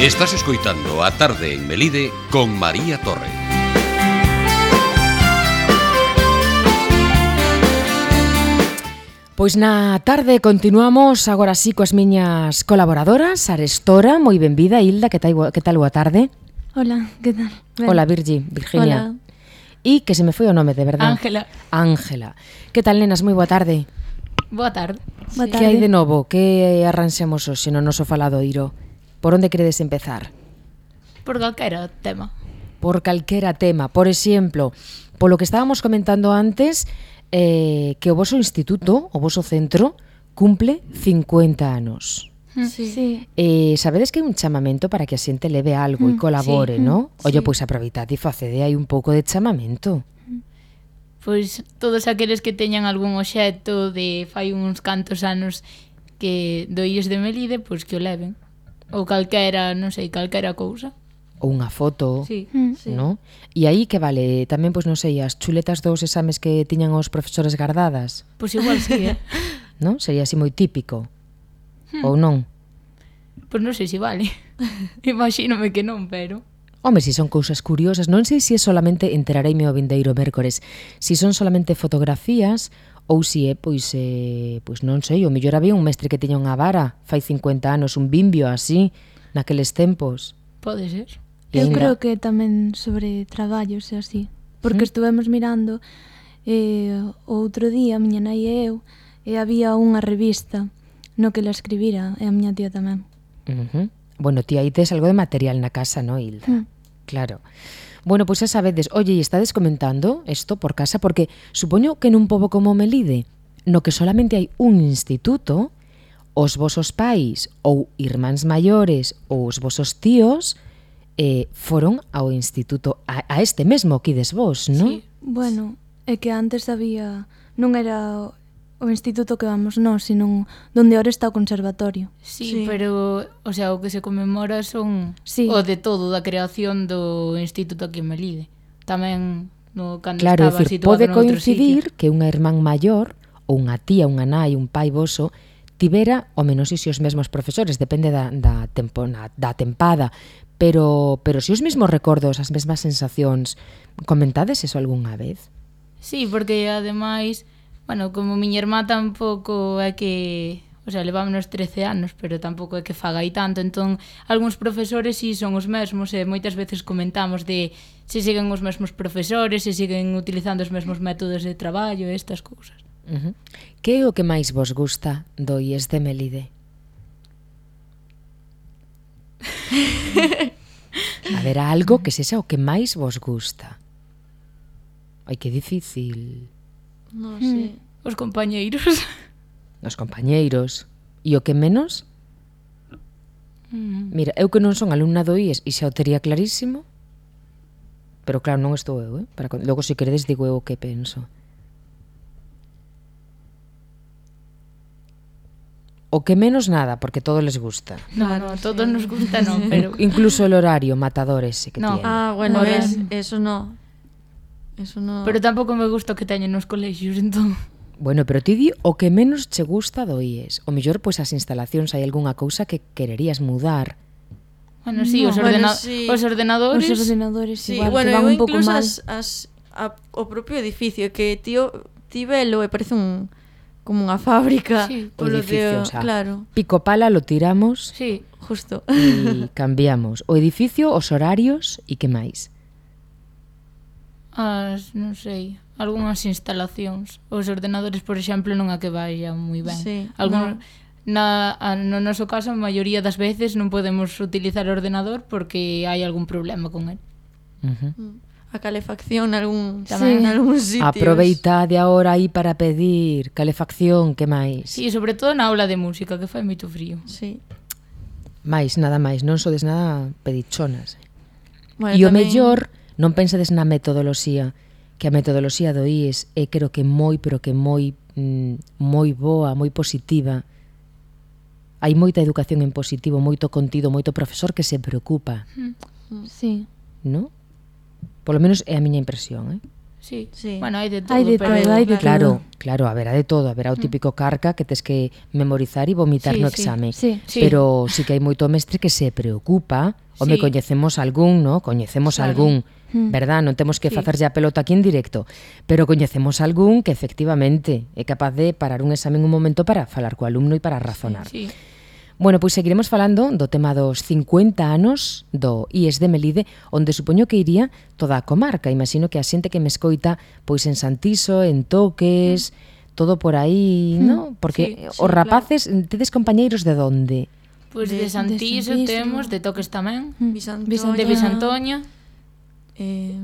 Estás escoitando A Tarde en Melide con María Torre. Pois na tarde continuamos agora sí coas miñas colaboradoras. Arestora, moi benvida. Hilda, que tal boa tarde? Hola, que tal? Ben. Hola, Virginia. Hola. E que se me foi o nome, de verdade. Ángela. Que tal, nenas? Moi boa tarde. Boa tarde. Boa Que tarde. hai de novo? Que arranxemos hoxe no noso faladoiro? Por onde queredes empezar? Por calquera tema. Por calquera tema. Por exemplo, polo que estábamos comentando antes, que o voso instituto, o voso centro, cumple 50 anos. Sí. Sabedes que hai un chamamento para que a xente leve algo e colabore, sí. non? Ollo, Sí. pois aproveitad e facede aí un pouco de chamamento. Pois todos aqueles que teñan algún obxecto de fai uns cantos anos que do Illes de Melide, pois que o leven. Ou calquera, non sei, calquera cousa. Ou unha foto, Sí. non? E aí que vale? Tamén, pois non sei, as chuletas dos exames que tiñan os profesores gardadas, Pois igual sí, non? Sería así moi típico. Ou non? Pois non sei se vale. Imagínome que non, pero... Home, si son cousas curiosas, non sei se é solamente, enterareime o vindeiro mércores, si son solamente fotografías ou si é, pois non sei, o mellor había un mestre que tiña unha vara fai 50 anos, un bimbio así, naqueles tempos. Pode ser. E Eu aínda- creo que tamén sobre traballos e así. Porque estivemos mirando o outro día, a miña nai e eu, e había unha revista no que la escribira, e a miña tía tamén. Bueno, ti aí tes algo de material na casa, no, Hilda? Claro. Bueno, pois xa sabedes, oye, e estades comentando isto por casa, porque supoño que nun pobo como Melide, no que solamente hai un instituto, os vosos pais ou irmáns maiores ou os vosos tíos foron ao instituto, a este mesmo que ides vos, non? Sí. Bueno, é que antes había... Non era o instituto que vamos nós, sino donde ahora está o conservatorio. Sí, pero, o sea, o que se conmemora son Sí. o de todo, da creación do instituto aquí en Melide. Tamén no cando Claro, é estaba dicir, situado pode noutro coincidir sitio. que unha irmán maior ou unha tía, unha nai, un pai voso tivera o menos si os mesmos profesores, depende da tempada, pero si os mesmos recordos, as mesmas sensacións, comentades eso algunha vez? Sí, porque ademais, bueno, como miña irmá tampouco é que, o sea, levámonos 13 anos, pero tampouco é que faga aí tanto, entón algúns profesores si son os mesmos e moitas veces comentamos de se siguen os mesmos profesores, se siguen utilizando os mesmos métodos de traballo e estas cousas. Que é o que máis vos gusta do IES de Melide? Haberá algo que sexa o que máis vos gusta. Ai, que difícil. Non sei. Os compañeiros. Os compañeiros. E o que menos? Mira, eu que non son alumna do IES e xa o tería clarísimo, pero claro, non estou eu, logo se queredes digo eu o que penso. O que menos nada, porque todo les gusta. No, todos nos gusta, non, pero... Incluso el horario, matadores, sí que No. tiene. Ah, bueno, No, eso no. Eso no. Pero tampouco me gusta o que teñen nos colexios, entón... Bueno, pero ti di o que menos che gusta do IES. O mellor, pois, as instalacións, hai algunha cousa que quererías mudar. Bueno, sí, No, os sí. ordenadores... Os ordenadores Sí, igual, bueno, que van eu un pouco incluso mal. o propio edificio que ti velo e parece como unha fábrica. Sí. O edificio, o sea, claro, pico pala lo tiramos Sí, justo. e cambiamos. O edificio, os horarios e que máis? non sei, algunhas instalacións. Os ordenadores, por exemplo, non a que vayan moi ben. Sí, Algún, no noso caso, a maioría das veces non podemos utilizar o ordenador porque hai algún problema con el. A calefacción Tamén. nalgúns sitios. Aproveitade agora aí para pedir calefacción, que máis? Sí, sobre todo na aula de música, que fai moito frío. Sí. Máis, nada máis, non sodes nada pedichonas. Bueno, E o tamén- mellor, non pensades na metodoloxía, que a metodoloxía do IES é creo que moi, pero que moi boa, moi positiva. Hai moita educación en positivo, moito contido, moito profesor que se preocupa, Sí. non? Polo menos é a miña impresión, Sí. Sí. Bueno, hai de todo, Hai de pero... todo, hai de Claro, claro, haberá de todo, haberá o típico carca que tes que memorizar e vomitar Sí, no sí. exame. Sí. Sí. Pero sí que hai moito mestre que se preocupa. Home, Sí. coñecemos algún, ¿no? Coñecemos Claro. algún, Mm. verdad? Non temos que Sí. facerlle a pelota aquí en directo, pero coñecemos algún que efectivamente é capaz de parar un examen un momento para falar co alumno e para razonar. Sí. Bueno, pois seguiremos falando do tema dos 50 anos do IES de Melide, onde supoño que iría toda a comarca. Imagino que a xente que me escoita pois en Santiso, en Toques, todo por aí, ¿no? Porque Sí, os rapaces, tedes compañeiros de donde? Pois De- de Santiso de Santiso. temos, de Toques tamén, Bisantoña. de Bisantoña, Eh,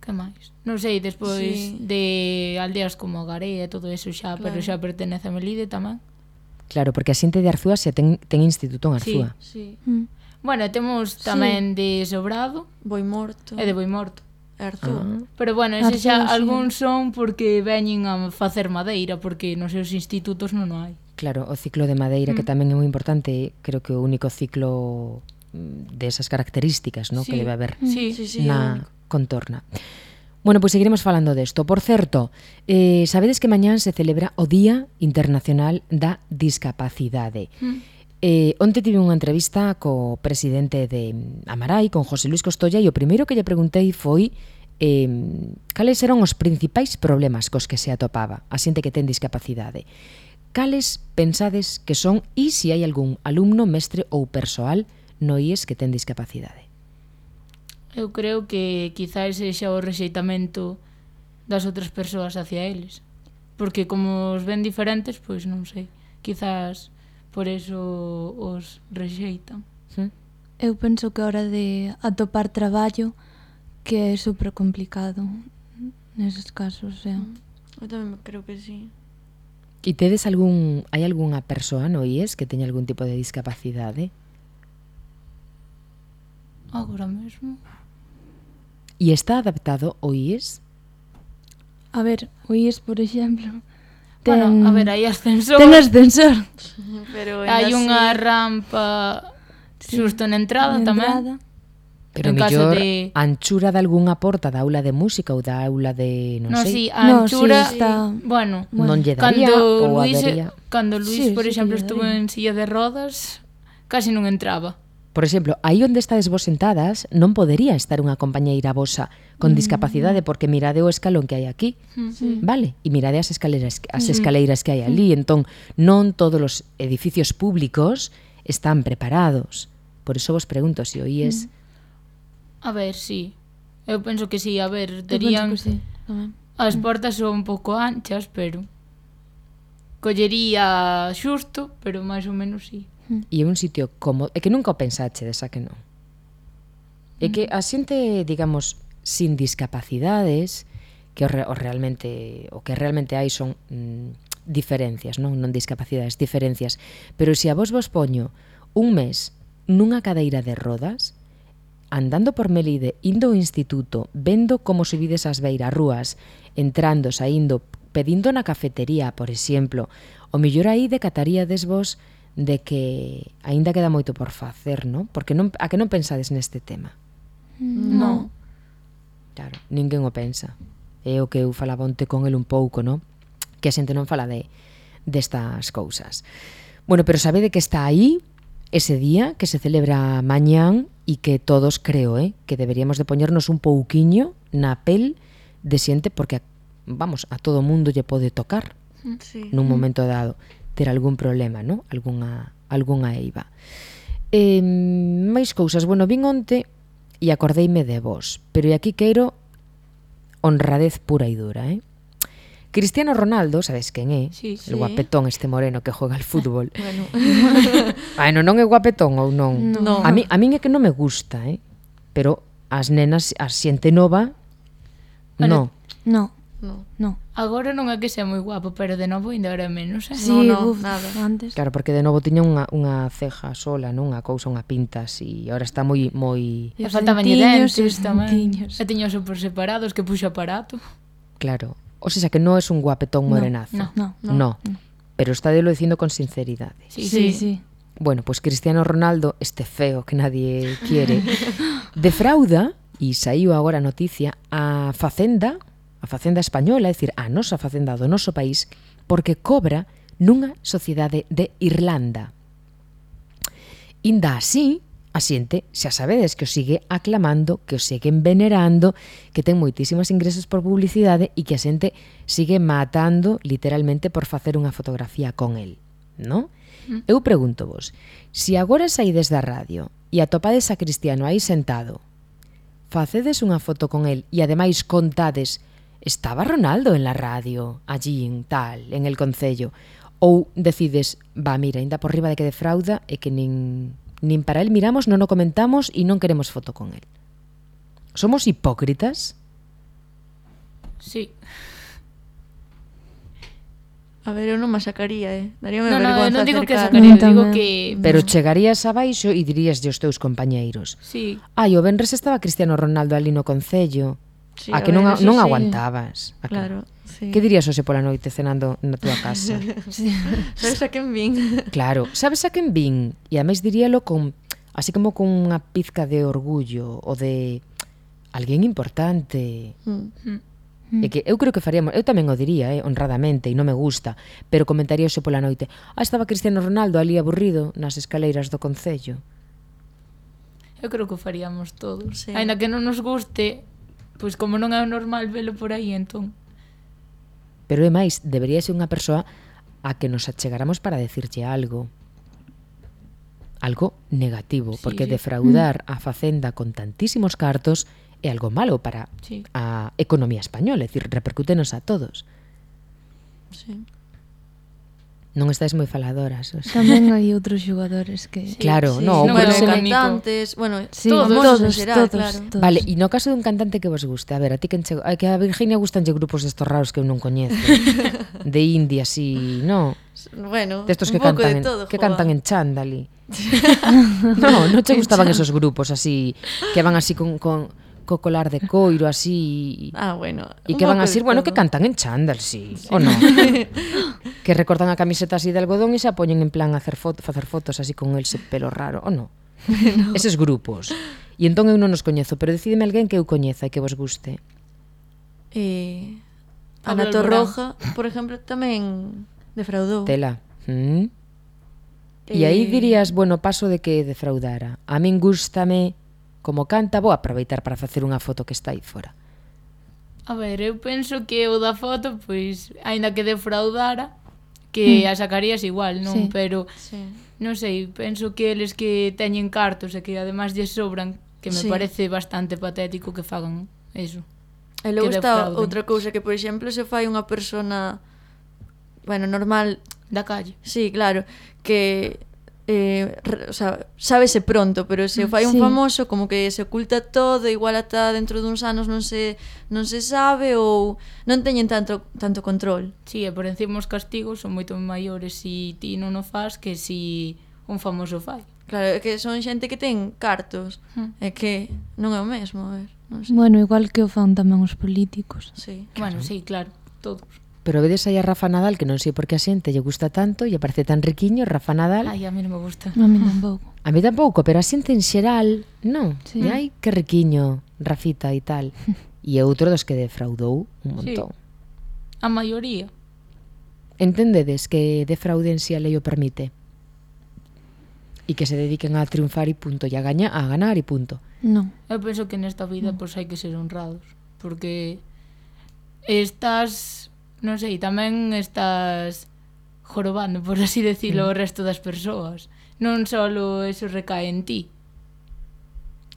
que máis? Non sei, despois Sí. de aldeas como Garea e todo eso xa, pero Claro. xa pertenece a Melide tamén. Claro, porque a xente de Arzúa xa ten instituto en Sí. Arzúa. sí. Mm. Bueno, temos tamén de Sobrado Boi morto. e de Boimorto. Arzúa. Pero bueno, ese xa Arzúa, sí. algúns son porque veñen a facer madeira, porque nos seus institutos non o hai. Claro, o ciclo de madeira, que tamén é moi importante, creo que o único ciclo desas características, ¿no? Sí. que debe haber Sí, Sí, sí, é na único. contorna. Bueno, pois seguiremos falando desto. Por certo, sabedes que mañán se celebra o Día Internacional da Discapacidade. Onte tive unha entrevista co presidente de Amarai, con José Luis Costolla, e o primeiro que lle preguntei foi cales eran os principais problemas cos que se atopaba a xente que ten discapacidade. Cales pensades que son e se hai algún alumno, mestre ou persoal no IES que ten discapacidade? Eu creo que quizás sexa o rexeitamento das outras persoas hacia eles. Porque como os ven diferentes, pois non sei. Quizás por eso os rexeitan. Eu penso que a hora de atopar traballo que é super complicado neses casos, o sea. Eu tamén creo que sí. E tedes hai algunha persoa no IES que teña algún tipo de discapacidade? Agora mesmo. E está adaptado o IES? A ver, o IES, por exemplo, Bueno, a ver, hai ascensor, ten ascensor. Pero hai ainda unha así- rampa xusto na entrada Na tamén. entrada. Pero En caso mellor de- a anchura de algunha porta da aula de música ou da aula de, non No, sei, sí, a No, anchura, sí, está- bueno, non lle daría ou habería. Cando Luis, Sí, por sí que exemplo, lle estuvo daría. en silla de rodas, casi non entraba. Por exemplo, aí onde estades vos sentadas non podería estar unha compañeira vosa con discapacidade porque mirade o escalón que hai aquí, vale? E mirade as escaleiras que hai ali, entón non todos os edificios públicos están preparados. Por iso vos pregunto se o IES A ver, sí. Eu penso que sí, a ver, Eu penso terían que sí, tamén. as portas son un pouco anchas, pero collería xusto, pero máis ou menos sí. e é un sitio cómodo, é que nunca o pensachedes, a que non? É que a xente, digamos, sin discapacidades, que o que realmente hai son diferencias, non discapacidades, diferencias, pero se a vos poño un mes nunha cadeira de rodas, andando por Melide, indo ao instituto, vendo como subides as beirarrúas, entrando, saindo, pedindo na cafetería, por exemplo, o mellor aí decataríades vos de que aínda queda moito por facer, non? Porque a que non pensades neste tema? No. Claro, ninguén o pensa. É o que eu falaba onte con el un pouco, non? Que a xente non fala destas cousas. Bueno, pero sabede que está aí ese día que se celebra mañán e que todos creo, que deberíamos de poñernos un pouquiño na pel de xente porque, vamos, a todo mundo lle pode tocar Sí. nun momento dado ter algún problema, non? Algunha eiva. Máis cousas. Bueno, vin onte e acordeime de vos, pero aquí quero honradez pura e dura, Cristiano Ronaldo, sabes quen é? Sí, El guapetón este moreno que juega al fútbol. Bueno, Bueno, non é guapetón ou non? No. A min é que non me gusta, pero as nenas, a xente nova, Bueno, no. no. No. Agora non é que sea moi guapo, pero de novo ainda era menos, Sí, no, uf, nada. antes. Claro, porque de novo tiña unha ceja sola, non? Unha cousa, unha pinta así, e agora está moi E E os faltaban dentiños, dentes os tamén. dentiños. E tiños por separados que puxo aparato. claro. O sea, que non es un guapetón morenazo. no. No. Pero está de lo dicindo con sinceridade. Sí, Sí. Bueno, pues Cristiano Ronaldo, este feo que nadie quiere, defrauda, e saiu agora a noticia, a Facenda a Facenda española, é dicir, a nosa Facenda do noso país, porque cobra nunha sociedade de Irlanda. Inda así, a xente xa sabedes que o sigue aclamando, que o siguen venerando, que ten moitísimos ingresos por publicidade e que a xente sigue matando literalmente por facer unha fotografía con el, non? Eu pregunto vos, se agora saídes da radio e atopades a Cristiano aí sentado, facedes unha foto con el e ademais contades estaba Ronaldo en la radio, allí en tal, en el concello, ou decides, mira, ainda por riba de que defrauda e que nin para el miramos, non o comentamos e non queremos foto con el. Somos hipócritas? Sí. A ver, eu non me sacaría, Daríame Non vergonza digo que acercarme. sacaría, digo que... Pero chegarías abaixo e dirías aos teus compañeiros: Sí. ai, o venres estaba Cristiano Ronaldo ali no concello. Sí, A a que ver, non eso non sí. aguantabas. A que- Claro, sí. Que dirías hoxe pola noite cenando na túa casa? Sabes a quen vin? Claro, sabes a quen vin? E a máis diríalo con, así como con unha pizca de orgullo ou de alguén importante. E que eu creo que faríamos, eu tamén o diría, honradamente, e non me gusta, pero comentaría hoxe pola noite: estaba Cristiano Ronaldo ali aburrido nas escaleiras do concello. Eu creo que o faríamos todos. Sí. Ainda que non nos guste, pois como non é o normal velo por aí, entón. Pero é máis, debería ser unha persoa a que nos achegáramos para decirlle algo negativo, Sí, porque sí. defraudar a Facenda con tantísimos cartos é algo malo para Sí. a economía española, é dicir, repercútenos a todos. Sí. Non estáis moi faladoras. O sea. Tamén hai outros xogadores que... Claro, Sí, no, non pero bueno, creo que cantantes, bueno, Sí, famosos todos, en xeral, todos, claro. todos. Vale, e no caso dun cantante que vos guste, a ver, a ti quen che... que a Virginia gustanlle grupos destos raros que eu non coñezo. De indie así, no. Bueno, Destos un que pouco cantan de todo, que joa. cantan en chándali. No, non che gustaban esos grupos así que van así con co colar de coiro así Ah, bueno. e un que van pouco así, de bueno, todo. que cantan en chándal, sí, o no. Que recortan a camiseta así de algodón e se poñen en plan a facer fotos así con ese pelo raro, o no. Eses grupos. E entón eu non os coñezo, pero decídeme alguén que eu coñeza e que vos guste. Pablo Ana Alborán. Torroja, por exemplo, tamén defraudou. Tela. E aí dirías, bueno, paso de que defraudara. A min gústame como canta, vou aproveitar para facer unha foto que está aí fora. A ver, eu penso que o da foto, pois, aínda que defraudara, que a sacarías igual, non? Sí. Pero, Sí. non sei, penso que eles que teñen cartos e que ademais lles sobran, que me Sí. parece bastante patético que fagan eso. E logo que está defrauden. outra cousa que, por exemplo, se fai unha persona, bueno, normal, Da calle. sí, claro, que o sea, sábese pronto, pero se o fai un Sí. famoso como que se oculta todo, igual ata dentro duns anos non se sabe ou non teñen tanto control. Sí, e por encima os castigos son moito maiores si ti non o fas que si un famoso fai. Claro, é que son xente que ten cartos, é que non é o mesmo, a ver, non sei. Bueno, igual que o fan tamén os políticos. Sí. Bueno, sí, claro, todos. Pero vedes aí a Rafa Nadal, que non sei por que a xente lle gusta tanto e parece tan riquiño, Rafa Nadal. Ai, a mí non me gusta. A mí tampouco. A mí tampouco, pero a xente en xeral, non. Sí. E ai, que riquiño, Rafita e tal. E é outro dos que defraudou un montón. A maioría. Entendedes que defrauden se a lei o permite? E que se dediquen a triunfar e punto, e a ganar e punto. Non. Eu penso que nesta vida pois hai que ser honrados, porque estás, non sei, tamén estás jorobando, por así decirlo, o resto das persoas. Non só eso recae en ti.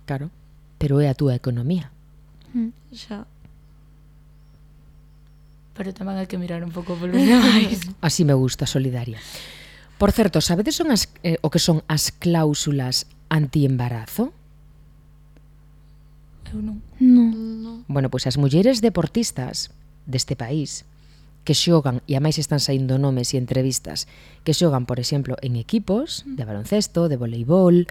Claro. Pero é a túa economía. Xa. Pero tamén hai que mirar un pouco polos demais. Así me gusta, solidaria. Por certo, sabedes o que son as cláusulas anti-embarazo? Eu non. Non. Bueno, pois as mulleres deportistas deste país que xogan, e a máis están saindo nomes e entrevistas, que xogan, por exemplo, en equipos de baloncesto, de voleibol,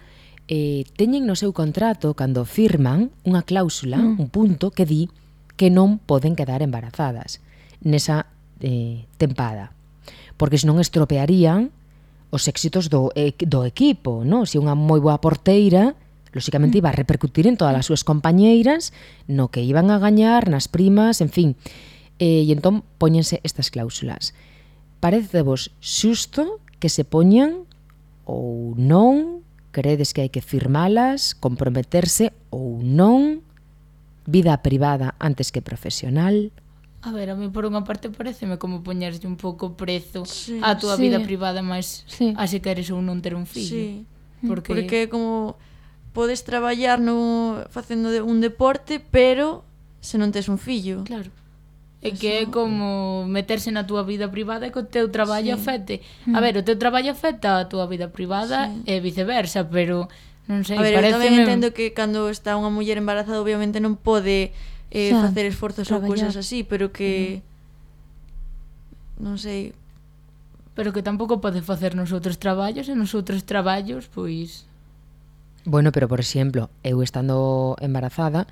teñen no seu contrato, cando firman, unha cláusula, un punto, que di que non poden quedar embarazadas nesa tempada. Porque senón estropearían os éxitos do equipo, non? Se unha moi boa porteira lóxicamente iba a repercutir en todas as súas compañeiras, no que iban a gañar, nas primas, en fin. E entón póñense estas cláusulas. Parecevos xusto que se poñan ou non? Credes que hai que firmalas, comprometerse ou non? Vida privada antes que profesional? A ver, a mí por unha parte pareceme como poñerse un pouco prezo Sí. a túa Sí. vida privada, máis a se queres ou non ter un fillo. Sí. Porque como podes traballar facendo un deporte, pero se non tes un fillo. claro, é que é como meterse na túa vida privada e que o teu traballo afecte. A ver, o teu traballo afecta a túa vida privada e viceversa, pero non sei, A ver, eu tamén pareceme... entendo que cando está unha muller embarazada obviamente non pode Xa, facer esforzos ou traballar. cousas así, pero que non sei. Pero que tampouco pode facer nos outros traballos e nos outros traballos, pois... Bueno, pero por exemplo, eu estando embarazada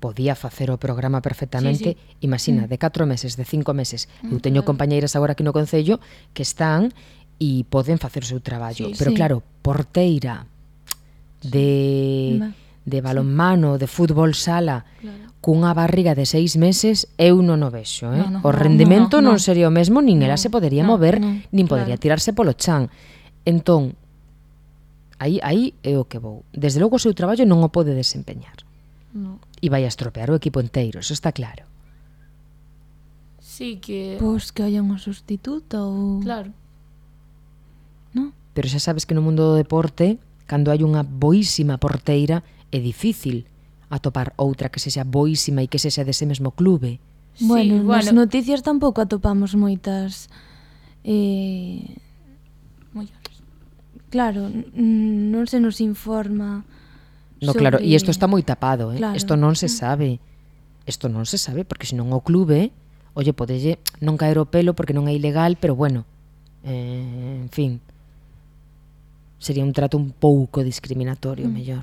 podía facer o programa perfectamente, imagina, de 4 meses, de 5 meses. Eu teño compañeiras agora aquí no Concello que están e poden facer o seu traballo. Sí, Pero sí. claro, porteira de balonmano, de fútbol sala, cunha barriga de 6 meses, eu non o vexo, eh? No, no, O rendimento no, non sería o mesmo, nin ela se podería mover, no, nin podería tirarse polo chan. Entón, aí é o que vou. Desde logo o seu traballo non o pode desempeñar. No. E vai a estropear o equipo inteiro, eso está claro. Sí que... Pois que haya unha sustituta ou... Claro. ¿No? Pero xa sabes que no mundo do deporte, cando hai unha boísima porteira, é difícil atopar outra que sexa boísima e que sexa dese mesmo clube. Bueno, Sí, nas noticias tampouco atopamos moitas... Mulleres. Claro, non se nos informa No, sobre... claro, e isto está moi tapado, Claro. Isto non se sabe. Isto non se sabe, porque senón o clube, oye, podelle non caer o pelo porque non é ilegal, pero bueno, en fin, sería un trato un pouco discriminatorio, mellor.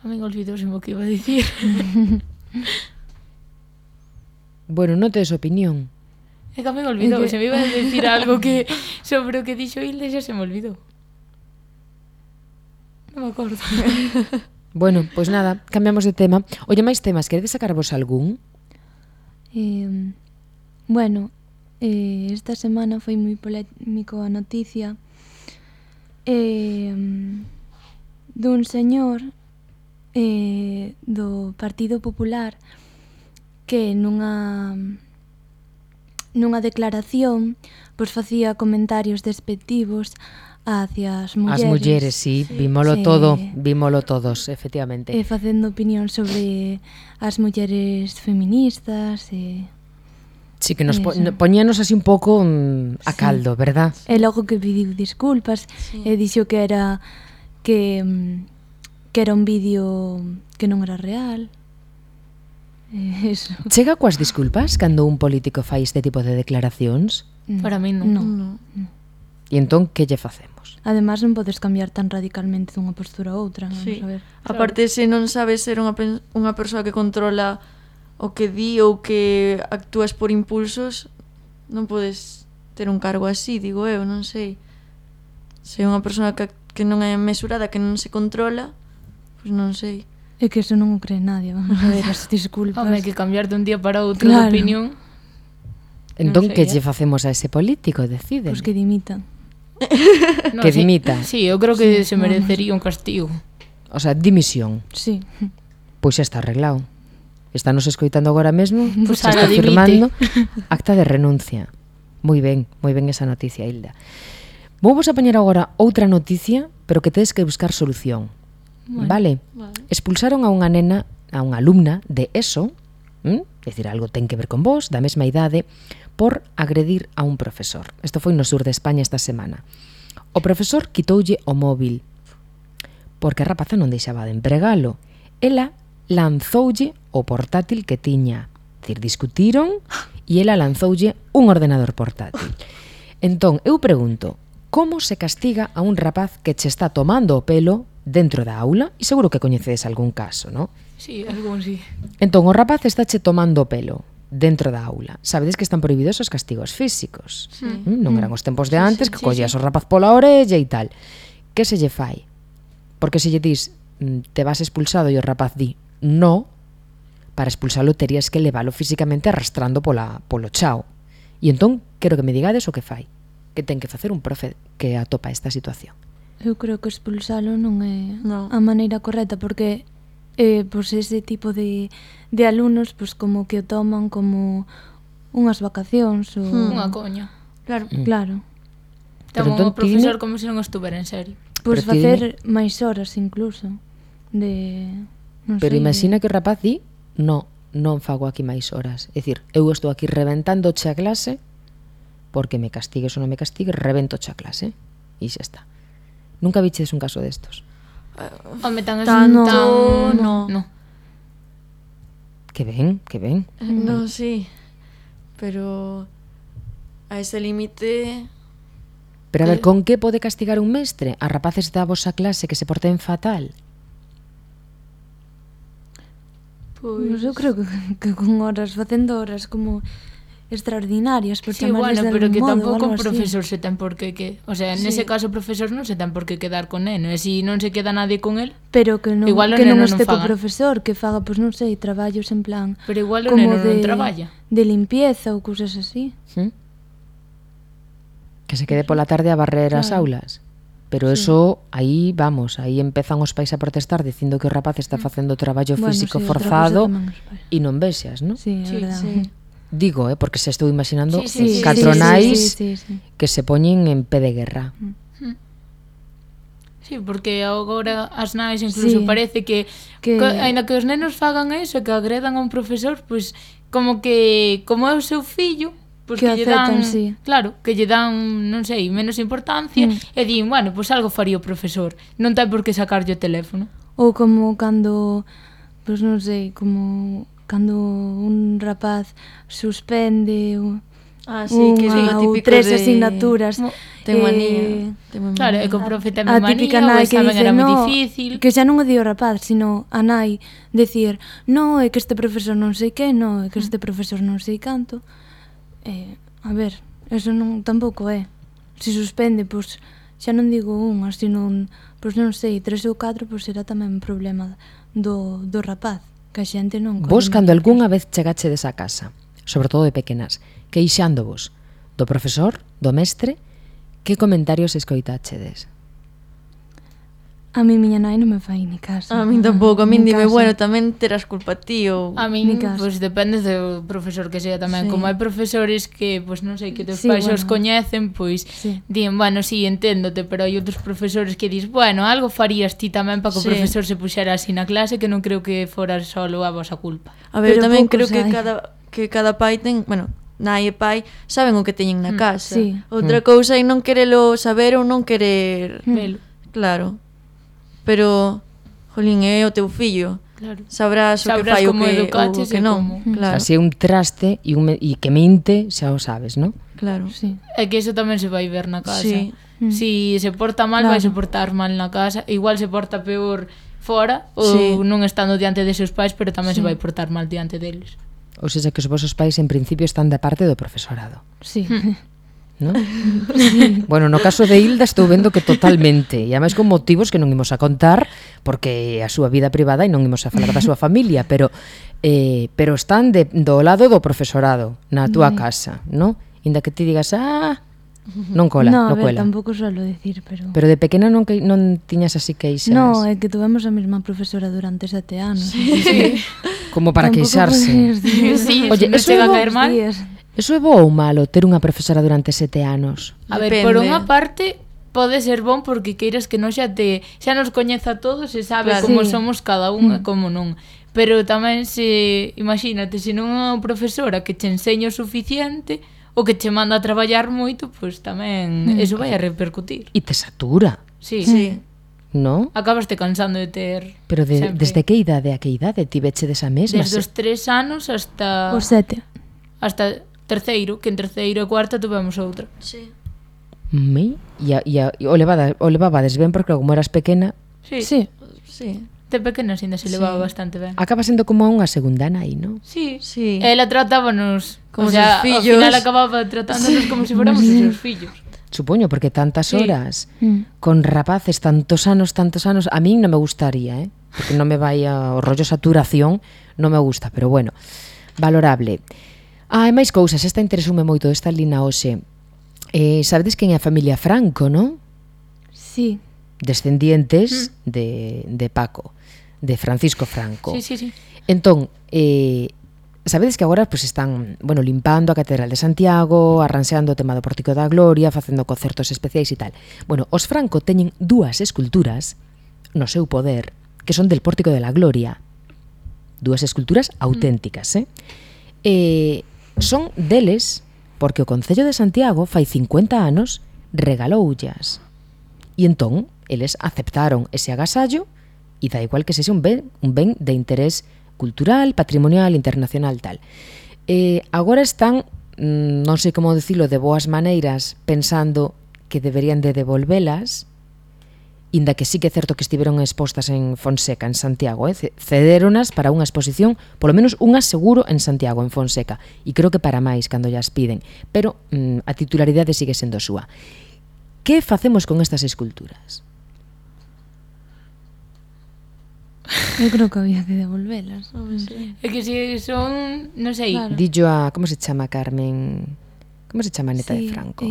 A mí olvidouse o que iba a dicir. Bueno, non tes opinión. É que a mí olvidou, se me iba a dicir algo que sobre o que dixo Hilde xa se me olvidou. Non me acordo. Bueno, pois nada, cambiamos de tema. Oye, máis temas, queredes sacarvos algún? Bueno, esta semana foi moi polémico a noticia dun señor do Partido Popular que nunha declaración pois facía comentarios despectivos hacia as mulleres. As mulleres, sí, vímolo todos, efectivamente. Facendo opinión sobre as mulleres feministas Sí, que nos Eso. poñíanos así un pouco a caldo, verdad? e logo que pediu disculpas e dixo que era un vídeo que non era real. Eso. Chega coas disculpas cando un político fai este tipo de declaracións? Para mí non. No. E entón, que lle facemos? Además non podes cambiar tan radicalmente dunha postura a outra, non Sí. saber. Aparte, se non sabes ser unha persoa que controla o que di ou que actúas por impulsos, non podes ter un cargo así, digo eu, non sei. Se é unha persoa que non é mesurada, que non se controla, pois non sei. É que eso non o cree nadie, vamos a ver, as disculpas. Home, que cambiar de un día para outro Claro. de opinión. Entón, sei, que lle facemos a ese político? Deciden. Pois que dimitan. No, Que sí, dimita. Sí, eu creo que se merecería un castigo. O sea, dimisión. Sí. Pois xa está arreglado. Estános escoitando agora mesmo, Pois xa ahora está dimite. firmando acta de renuncia. Moi ben esa noticia, Hilda. Vamos a poñer agora outra noticia, pero que tedes que buscar solución. Vale? Expulsaron a unha nena, a unha alumna de ESO, decir, algo ten que ver con vos, da mesma idade, por agredir a un profesor. Isto foi no sur de España esta semana. O profesor quitoulle o móvil, porque a rapaza non deixaba de empregalo. Ela lanzoulle o portátil que tiña. Dicir, discutiron e ela lanzoulle un ordenador portátil. Entón, eu pregunto, como se castiga a un rapaz que che está tomando o pelo dentro da aula? E seguro que coñecedes algún caso, non? Sí, algún sí. Entón, o rapaz está che tomando o pelo dentro da aula. Sabedes que están prohibidos os castigos físicos. Non eran os tempos de antes que collías o rapaz pola orella e tal. Que se lle fai? Porque se lle dis te vas expulsado e o rapaz di no, para expulsalo terías que levalo físicamente arrastrando polo chao. E entón, quero que me digades o que fai. Que ten que facer un profe que atopa esta situación. Eu creo que expulsalo non é No. a maneira correcta, porque pois ese tipo de alumnos pois como que o toman como unhas vacacións ou... Unha coña. Claro. Claro. Pero Ten entón o profesor dime- como se non estuvera en serio. Pois Pero ti facer máis horas incluso de... Non Pero sei, imagina que o rapaz di no, non fago aquí máis horas. É dicir, eu estou aquí reventándoche a clase porque me castigues ou non me castigues, reventoche a clase. E xa está. Nunca viches un caso destos. Home, tan Tanto, no. Que ben, que ben. No, sí. Pero a ese límite... Pero a ver, con que pode castigar un mestre a rapaces da vosa clase que se porten fatal? Pois eu creo que con horas, facendo horas como extraordinarias, por Sí, chamarles bueno, de pero algún que modo, tampouco algo un así. profesor se ten por que... O sea, Sí. nese caso o profesor non se ten por que quedar con neno. E se non se queda nadie con el, Pero que non, Igual o que non neno non este co faga. profesor, que faga, pois non sei, traballos en plan pero igual o como neno non traballa. de limpieza ou cousas así. ¿Mm? Que se quede pola tarde a barrer as Claro. aulas. Pero eso, aí vamos, aí empezan os pais a protestar dicindo que o rapaz está facendo traballo Bueno, físico sí, outra forzado cousa tamén os pais. e non vexas, non? Sí, é Sí, verdade. Sí. Digo, porque se estou imaginando Sí, catronais sí. que se poñen en pé de guerra. Sí, porque agora as nais incluso Sí. parece que aínda que os nenos fagan eso, que agredan a un profesor, pois como é o seu fillo, pois Que que lle dan, aceptan, sí. claro, que lle dan, non sei, menos importancia e din, bueno, pois algo faría o profesor. Non ten por que sacarlle o teléfono. Ou como cando, pois non sei, como cando un rapaz suspende Ah, sí, que é unha o ou típico tres de... asignaturas. Ten manía. Ten manía. Claro, é que o profe ten A manía, típica o nai que examen dice, era moi no, difícil. que xa non o di o rapaz, sino a nai decir, no, é que este profesor non sei que, no, é que este profesor non sei canto. A ver, eso non tampouco é. Se suspende, pois xa non digo unha, sino pois non sei, 3 ou 4, pois será tamén un problema do rapaz, que a xente non... Vos, cando algunha vez chegachedes a casa, sobre todo de pequenas, queixándovos do profesor, do mestre, que comentarios escoitachedes? A mi miña nai non me fai ni caso. A min tampouco, a min Ni dime, caso. bueno, tamén terás culpa ti ou... A min, Ni caso. pois depende do profesor que sea tamén. Sí. Como hai profesores que, pois non sei, que teus Sí, pais bueno. os coñecen, pois Sí. din, bueno, sí, enténdote, pero hai outros profesores que dis, bueno, algo farías ti tamén para que o Sí. profesor se puxera así na clase, que non creo que fora solo a vosa culpa. A ver, Pero tamén poucos creo que hai. cada pai ten, bueno, nai e pai saben o que teñen na casa. sí. Outra cousa é non querelo saber ou non querer, Velo. claro. Pero jolín, é o teu fillo. Claro. Sabrás o que Sabrás fai o como que, educaches o que e non. como. Claro. Así é un traste e que mente, xa o sabes, non? Claro. Sí. É que iso tamén se vai ver na casa. Sí. Si se porta mal, Claro. vai se portar mal na casa. Igual se porta peor fora ou Sí. non estando diante de seus pais, pero tamén se Sí. vai portar mal diante deles. Ou seja, que os vosos pais en principio están da parte do profesorado, Sí. non? Bueno, no caso de Hilda estou vendo que totalmente, e ademais con motivos que non imos a contar, porque é a súa vida privada e non imos a falar da súa familia, pero están do lado do profesorado na túa casa, non? Inda que ti digas, non cola, no, a non ver, cola. tampouco suelo decir, pero... Pero de pequena non tiñas así queixas, No, é que tuvemos a mesma profesora durante 7 anos. Sí. como para Tampouco queixarse. podías decir. Sí, Oye, non eso chega a é caer mal. Días. Eso é bo ou malo ter unha profesora durante 7 anos? A ver, Depende. por unha parte pode ser bon porque queiras que non xa nos coñeza a todos e sabe Claro. como Sí. somos cada un e como non. Pero tamén imagínate, se non é unha profesora que che enseña o suficiente ou que che manda a traballar moito, pois tamén eso vai a repercutir. E te satura, Sí. Sí. non? Acabaste cansando de ter Pero sempre. desde que idade a que idade ti veche desa mesma? Desde os 3 anos hasta Os 7. terceiro, que en terceiro e cuarta tuvemos outra. Sí. O levabades ben porque como eras pequena Sí. Sí. Sí. De pequena ainda se levaba bastante ben. acaba sendo como unha segunda nai, non? Sí. Sí. Ela tratábanos Como o sea, seus fillos. Ao final acababa tratándonos como se fóramos os seus fillos. Supoño, porque tantas Sí. horas con rapaces, tantos anos, a mí non me gustaría, porque non me vai o rollo saturación, non me gusta, pero bueno, valorable. E máis cousas, esta interesoume moito, esta lina hoxe. Sabedes quen é a familia Franco, non? Sí. Descendientes de Paco, de Francisco Franco. Sí. Entón, sabedes que agora pues, están limpando a Catedral de Santiago, arranxeando o tema do Pórtico da Gloria, facendo concertos especiais e tal. Bueno, os Franco teñen 2 esculturas no seu poder que son del Pórtico de la Gloria. 2 esculturas auténticas, son deles porque o Concello de Santiago fai 50 anos regaloullas. E entón, eles aceptaron ese agasallo e da igual que sexa un ben de interés cultural, patrimonial, internacional, tal. Agora están, non sei como dicilo, de boas maneiras, pensando que deberían de devolvelas, inda que sí que é certo que estiveron expostas en Fonseca, en Santiago, cedéronas para unha exposición, polo menos unha seguro en Santiago, en Fonseca, e creo que para máis cando llas piden, pero a titularidade sigue sendo súa. Que facemos con estas esculturas? Eu creo que había que devolvelas. É que si son, non sei, Claro. Dillo a, como se chama Carmen? Como se chama a neta de Franco?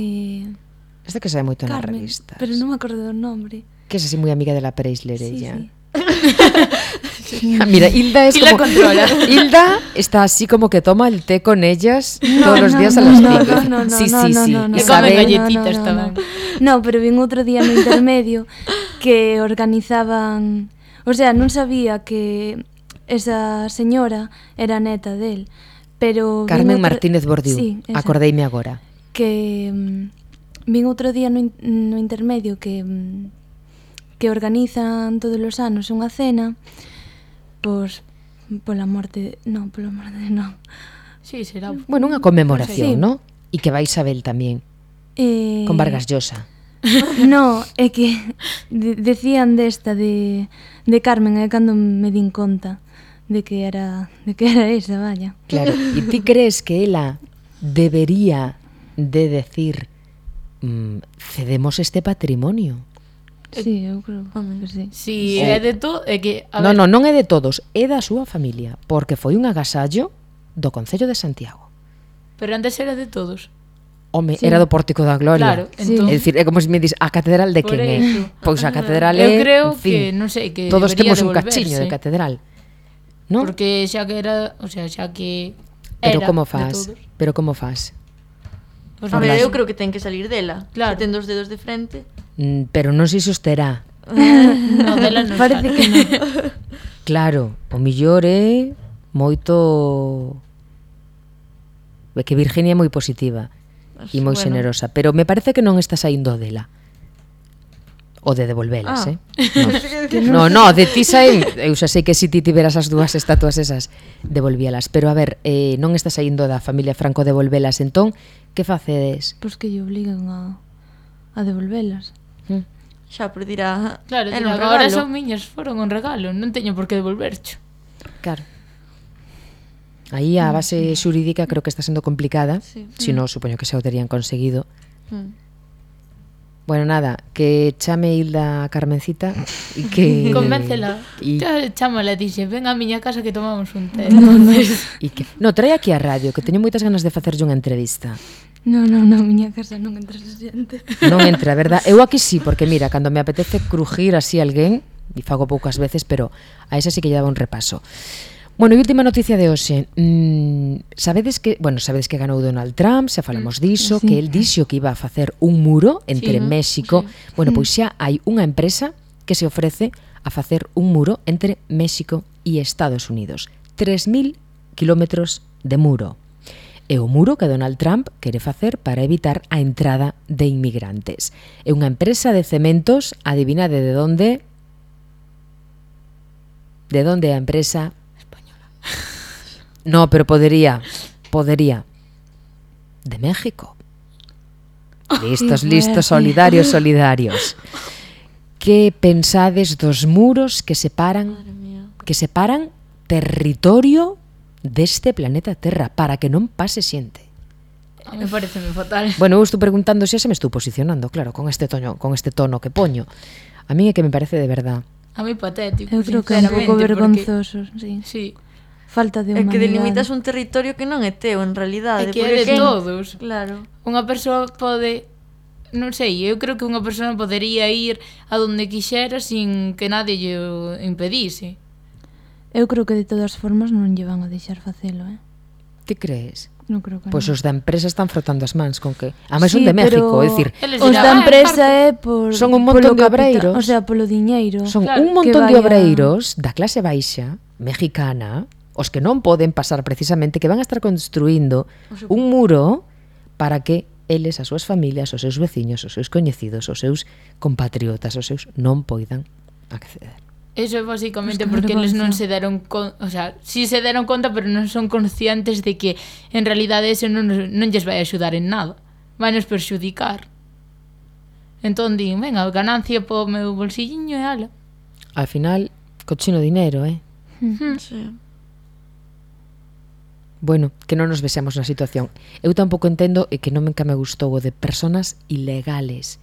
Esta que sabe moito nas Carmen, revistas. pero non me acordo do nombre. Que es así moi amiga de la Preisler, Sí, ella. sí. Mira, Hilda es ¿Quién la como... controla? Hilda está así como que toma el té con ellas No, todos los no, días a no, las no, 5. no, no, sí, no, sí, no, sí. no, no, Le Isabel, comen galletitas tamén. No, pero vin outro día no intermedio que organizaban... O sea, non sabía que esa señora era neta del, pero... Carmen Martínez Bordiú, sí, esa. acordeime agora. Que vin outro día no intermedio que organizan todos os anos unha cena pola morte, non. Sí, será. Bueno, unha conmemoración, Sí. ¿no? E que vai Isabel tamén, con Vargas Llosa. No, é que decían desta de Carmen, é cando me din conta de que era esa, vaya. Claro, e ti crees que ela debería de decir cedemos este patrimonio? Sí, eu creo que sí. Si é de todo, é que Non é de todos, é da súa familia, porque foi un agasallo do Concello de Santiago. Pero antes era de todos. Home, Sí. era do Pórtico da Gloria. Claro, Sí. entón, É dicir, é como se me dis, a catedral de Por quen é? eso. Pois a catedral Eu é, creo en fin, que, non sei, que todos debería temos un devolverse. cachiño de catedral. ¿No? Porque xa que era, o sea, xa que Pero era como de fas? todos. Pero como fas? Pois A non ver, sei. eu creo que ten que salir dela. Claro. Se ten 2 dedos de frente. Pero non sei se os terá. No, dela non Parece sale. que non. Claro, o millor é moito... É que Virginia é moi positiva e moi Bueno. xenerosa, pero me parece que non está saindo dela. O de devolvelas, No, de ti saen, eu xa sei que se ti tiveras as 2 estatuas esas, devolvíalas, pero a ver, non está saindo da familia Franco devolvelas, entón, que facedes? Pois que lle obligan a devolvelas. Xa, por dirá... Claro, era tira, un agora regalo. son miñas, foron un regalo, non teño por que devolvercho. Claro. Aí a base xurídica creo que está sendo complicada, Sí. si non, supoño que xa o terían conseguido. Mm. Bueno, nada, que chame Hilda a Carmencita e que... Convéncela. E Chámala, dixe, ven a miña casa que tomamos un té. no, trae aquí a radio, que teño moitas ganas de facerlle unha entrevista. Non, miña casa non entra xente. Non entra, verdad? Eu aquí sí, porque mira, cando me apetece crujir así alguén, e fago poucas veces, pero a esa sí que lle daba un repaso. Bueno, e última noticia de hoxe. Sabedes que ganou Donald Trump, xa falamos diso, Sí. que el dixo que iba a facer un muro entre Sí. México. Bueno, pois xa hai unha empresa que se ofrece a facer un muro entre México e Estados Unidos. 3.000 kilómetros de muro. É o muro que Donald Trump quere facer para evitar a entrada de inmigrantes. É unha empresa de cementos, adivinade de onde? De onde é a empresa? No, pero podería. De México. Listos, solidarios. Que pensades dos muros que separan territorio deste planeta Terra para que non pase xente? Me parece fatal. Bueno, eu estou preguntando se me estou posicionando, claro, con este tono que poño. A mí é que me parece de verdad. A mí patético, Eu creo que é un pouco sinceramente, vergonzoso, sí. Sí, Falta de É humanidade. que delimitas un territorio que non é teu, en realidade. é que é porque de todos. Claro. Unha persoa pode, non sei, eu creo que unha persoa podería ir a donde quixera sin que nadie lle o impedise. Eu creo que de todas formas non lle van a deixar facelo, Ti crees? Non creo que Pois non. os da empresa están frotando as mans con que... Ademais son Sí, de México, pero é dicir, Eles os dirán, da empresa parte. é por Son un montón polo de obreiros. o sea, polo diñeiro. son claro, un que montón de vaya- obreiros da clase baixa mexicana, os que non poden pasar precisamente, que van a estar construindo un muro para que eles, as súas familias, os seus veciños, os seus coñecidos, os seus compatriotas, os seus non poidan acceder. Eso é basicamente Pues que porque eles non vergonza. se deron conta, o sea, sí se deron conta, pero non son conscientes de que en realidade eso non lles vai axudar en nada. Vai nos perxudicar. Entón din, venga, ganancia po meu bolsilliño e ala. Al final, cochino dinero, Sí. Bueno, que non nos vexamos na situación. Eu tampouco entendo e que non me gustou o de personas ilegales.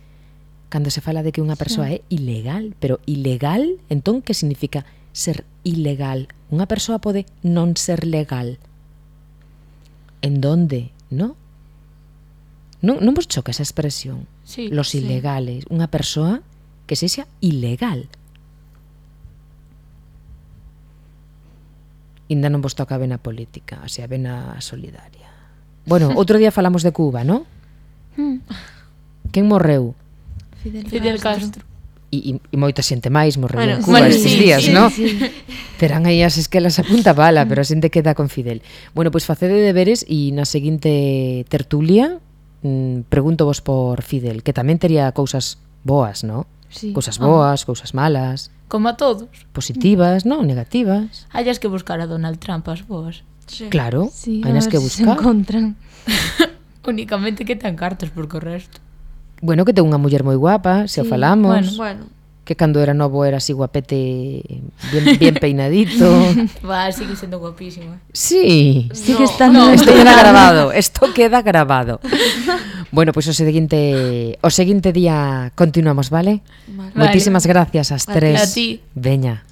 Cando se fala de que unha persoa é ilegal, pero ilegal, entón que significa ser ilegal? Unha persoa pode non ser legal. En donde, no? Non vos choca esa expresión? Sí, Los sí. ilegales, unha persoa que sexa ilegal. Ainda non vos toca ben a política, o sea, ben a solidaria. Bueno, outro día falamos de Cuba, non? Quen morreu? Fidel Castro. E moita xente máis morreu en Bueno, Cuba bueno, estes sí, días, sí, non? Terán aí as esquelas a punta bala, pero a xente queda con Fidel. Bueno, pois facede deberes e na seguinte tertulia pregunto vos por Fidel, que tamén tería cousas boas, non? Sí. Cousas boas, cousas malas, Como a todos. positivas, non? Negativas. Hayas que buscar a Donald Trump as boas. Sí. Claro, Sí, hai a nas ver que se se buscar. encontran. Únicamente que ten cartas, porque o resto. Bueno, que ten unha muller moi guapa, se o Sí, falamos. Bueno, Que cando era novo era así guapete, bien peinadito. Va, sigue sendo guapísimo. Sí. Sí que están Isto queda grabado, isto queda grabado. Bueno, pois o seguinte día continuamos, vale? vale. Moitísimas gracias ás A ti. tres. A ti. Veña.